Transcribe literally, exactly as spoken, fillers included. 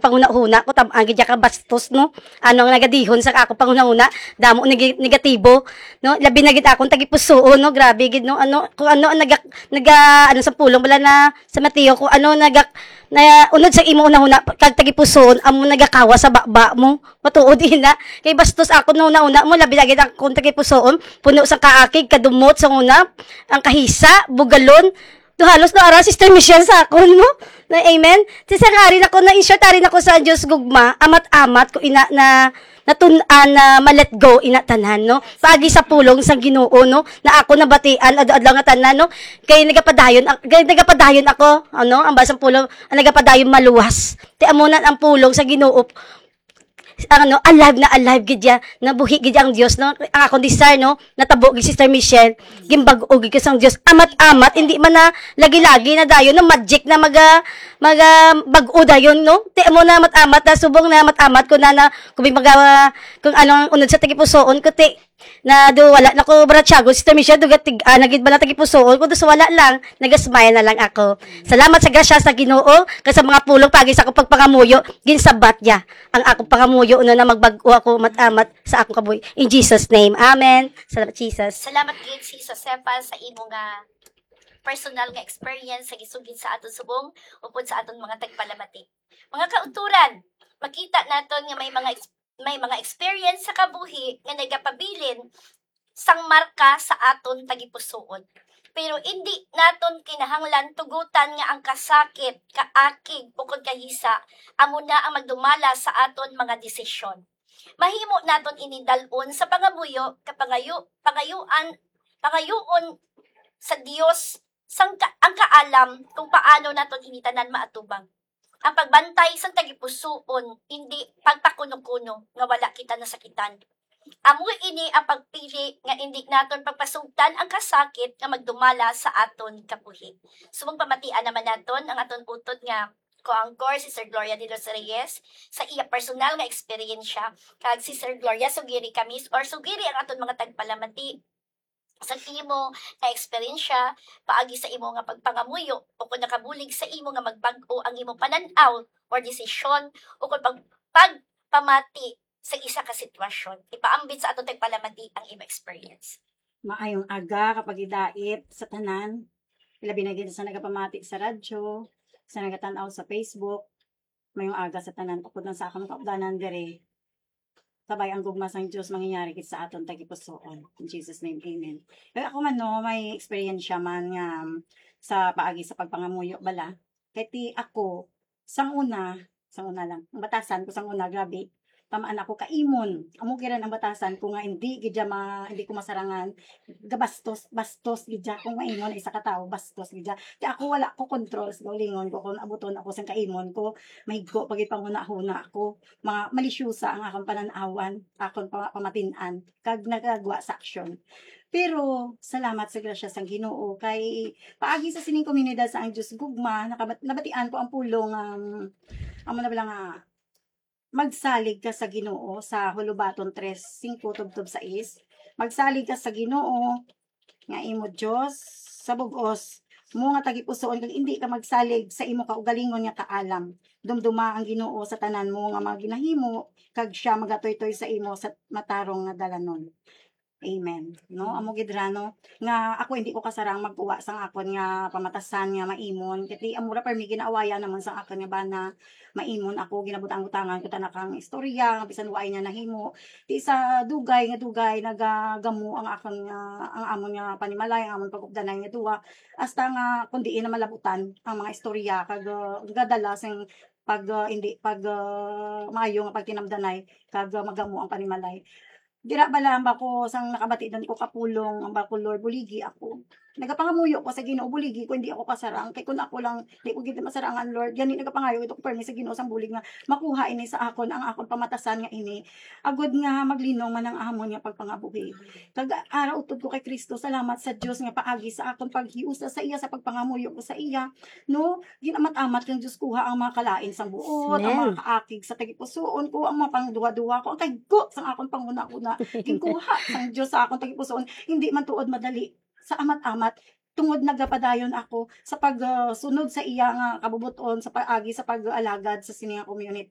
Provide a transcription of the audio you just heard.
panghunahuna ko, tam-, ang gid ka bastos, no? Ano ang nagadihon sa akong panghunahuna, damo neg-, negatibo, no? Labi na gid akong tagipusoon, no? Grabe gid, no? Ano, kung ano ang naga-, naga-, ano sa pulong bala na sa Mateo, kung ano naga-, na unod sa imo hunahuna, kag tagipusoon, amo nagakawa sa baba mo. Matuod ina. Kay bastos ako no hunahuna mo, labi na gid akong tagipusoon, puno sa kaakig, kadumot sa una, ang kahisa, bugalon, do halos no ara, Sister Michelle, sa akon mo. Na, amen. Sa isang hari na ko, na in short, hari na ko sa Dios gugma, amat-amat ko ina na natun-an na ma-let go ina tanan, no? Paagi sa pulong sang Ginoo, no? Na ako nabatian adlaw-adlaw nga tanan, no? Kay nagapadayon, kay nagapadayon ako, ano, ang basang pulong, ang nagapadayon maluwas. Ti amo na ang pulong sa Ginoo. Ano, alive na alive gid ya, nabuhi gid ang Dios, no? Ang akong desire, no? Natabo gid, Sister Michelle, gimbag-o gid ko sang Dios. Amat-amat, hindi man na lagi-lagi na dayon, no? Magic na maga, maga bag-o dayon, no? Ti amo na amat-amat na, subong na amat-amat ko na, na kung may maga, kung anong unod sa tagipusoon ko, ti, na do wala na ko baratyago, Sister Michelle, do gatig, ah, nagid ba na tagipusoon ko, do sa wala lang, nagasmile na lang ako. Salamat sa grasya sa Ginoo, kay sa mga pulong pagi sa akong pagpangamuyo, ginsabat niya ang akong pangamuyo, no, na magbag-o ako mat-amat sa akong kabuhi. In Jesus' name, amen. Salamat, Jesus. Salamat gid, Sis Josefa, sa imo nga personal nga experience sa gisugid sa aton subong upod sa aton mga tagpalamati. Mga kautoran, makita naton nga may mga ex-, may mga experience sa kabuhi nga nagapabilin sang marka sa aton tagipusoon. Pero indi naton kinahanglan tugutan nga ang kasakit, kaakig, ukon kahisa amo na ang magdumala sa aton mga desisyon. Mahimo naton ini dal-on sa pangamuyo, kapangayo-, pangayuan, pangayuon sa Dios sang ka-, ang kaalam kung paano naton ini tanan maatubang. Ang pagbantay sang tagipusoon, indi pagpakuno-kuno nga wala kita nasakitan. Amo ini ang pagpili nga indi naton pagpasugtan ang kasakit nga magdumala sa aton kabuhi. Subong pamatian naman naton ang aton utod nga co-anchor, si Sir Gloria de los Reyes, sa iya personal nga eksperyensya, kag si Sir Gloria, sugiri kami, or sugiri ang aton mga tagpalamati sa imo nga eksperyensya paagi sa imo nga pagpangamuyo, o kung nakabulig sa imo nga magbag-o ang imo panan-aw or desisyon, o kung pag-, pagpamati sa isa ka sitwasyon. Ipaambit sa aton tagpalamati ang imo experience. Maayong aga, kapagidait sa tanan, ilabi na gid sa nagapamati sa radyo, sa nagatan-aw sa Facebook. Mayong aga sa tanan, upod lang sa akong kaupdanan diri. Kabay ang gugma sang Dios mangyari gid sa aton tagipusoon. In Jesus' name, amen. Pero ako man, no, may eksperyensya man nga, um, sa paagi sa pagpangamuyo bala. Kay ti ako, sang una, sang una lang, ang batasan ko sang una, grabe, tamaan ako kaimon. Amo gid ang batasan ko nga hindi gid siya ma-, hindi ko masarangan. Gabastos, bastos gid siya. Kung maimon ang isa ka tawo, bastos gid siya. Kaya ako wala ko control sa kaugalingon ko kung abuton ako sang kaimon ko, mahigko pa gid panghunahuna ako. Mga malisyosa ang akong panan-awan, akong pa-, pamatin-an, kag nagagwa sa aksyon. Pero salamat sa grasya sang Ginoo, kay paagi sa sining komunidad sa Ang Dios Gugma, nakabat-, nabatian ko ang pulong, um, amo na bala nga, magsalig ka sa Ginoo sa Hulubaton tres singko tubtob sais. Magsalig ka sa Ginoo nga imo Dios sa bug-os mo nga tagipusoon, kag indi ka magsalig sa imo kaugalingon nga kaalam. Dumduma ang Ginoo sa tanan mo nga mga ginahimo, kag sia magatuytoy sa imo sa matarong nga dalanon. Amen. No, amo gid ra, no, nga ako hindi ko kasarang magkuha sang akon nga pamatasan nga maimon, kay amo ra permi ginaawayan naman sang akon nga bana. Maimon ako, ginabutang-butangan ko tana kang istorya nga bisan waay niya nahimo. Ti sa dugay nga dugay nagagamo ang akon nga, ang amon nga panimalay, ang amon pag-updanay nga duwa, hasta nga kun diin na malabutan ang mga istorya kag, ah, gadala sing pag, ah, hindi pag, ah, maayo nga pagtinamdanay kag, ah, magamo ang panimalay. Dira bala ang bako sang nakabati dan ko kapulong, ang bako, Lord, buligi ako. Nagapangamuyo ko sa Ginoo, buligi ko, hindi ako kasarang. Kay kun ako lang, di ko gid masarangan, Lord. Gani nagapangayo gid ako permi sa Ginoo sang bulig nga makuha ini sa akon, ang akon pamatasan nga ini. Agod nga maglinong man ang amon nga pagpangabuhi. Kag ara utod ko kay Cristo, salamat sa Dios nga paagi sa akon paghiusa sa iya, sa pagpangamuyo ko sa iya, no? Ginamat-amat kang Dios kuha ang mga kalain sang buot, ang mga Amen. kaakig sa tagipusoon ko, ang mga pangduha-duha ko, ang kaygo sang akon panghuna-huna, ginkuha sang Dios sa akon tagipusoon, hindi man tuod madali sa amat-amat, tungod nagapadayon ako sa pag, ah, sunod sa iya nga kabubot-on sa paagi sa pag-alagad sa sini nga community.